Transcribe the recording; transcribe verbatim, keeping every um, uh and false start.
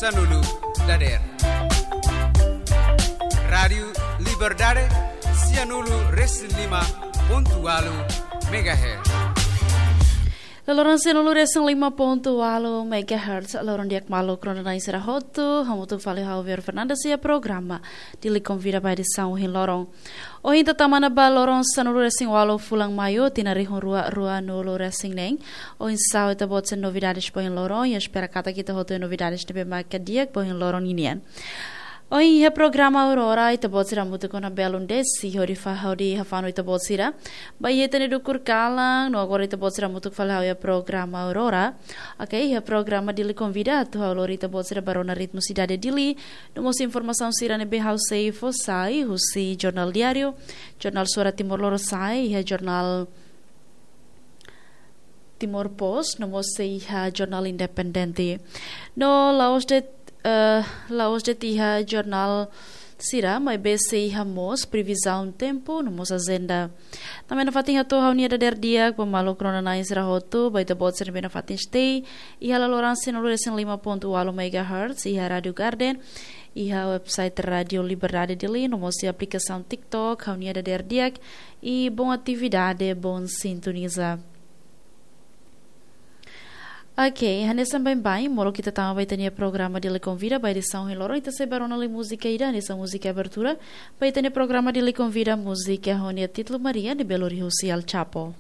Sanulu dader. Rádiu Liberdade, sianulu resin lima pontu walu megahertz. Loloron sianulu resin lima pontu walu megahertz, loron di'ak maluk rona-na'in sira hotu, hamutuk fali ha'u Vero Fernandes iha programa Dili Konvida ba edisaun ohin loron. Ohin ita tama ona ba loron sanulu resin walu fulan Maiu, tinan rihun rua ruanulu resin neen. Oinsá ita-boot sira novidades ba ohin loron, i espera katak ita hotu novidades ne'ebé maka di'ak ba ohin loron ninian. Ohin iha programa Aurora, ita-boot sira hamutuk ona belun desi, hodi fa-, hodi hafanu ita-boot sira ba iha ita-nia dukur kalan, no agora ita-boot sira hamutuk fali ha'u iha programa Aurora. Oke, iha programa Dili Konvida, atu ha'u lori ita-boot sira ba rona ritmu sidade Dili, no mós informasaun sira ne'ebé ha'u sei fó sai husi Jornál Diáriu, Jornál Suara Timor Lorosa'e, iha Jornál Timor Post, no mós sei iha Jornál Independente. No la'ós de'it, eh, la'ós de'it iha jornál sira, maibé sei iha mós previzaun tempu, no mós ajenda. Tanba ne'e nafatin hato'o ha'u-nia dadeer di'ak ba maluk rona-na'in sira hotu, ba ita-boot sira ne'ebé nafatin stay iha loloron sianulu resin lima pontu walu megahertz, iha Rádiu Garden, iha website Rádiu Liberdade Dili, no mós iha aplikasaun TikTok, ha'u-nia dadeer di'ak, i bom atividade, bom sintoniza. Oke, hanesan baibain, molok ita tama ba ita-nia programa Dili Konvida ba edisaun ohin loron, ita sei ba rona lai múzika ida, hanesan múzika abertura ba ita-nia programa Dili Konvida, múzika ho nia títulu Maria, ne'ebé lori husi El Chapo.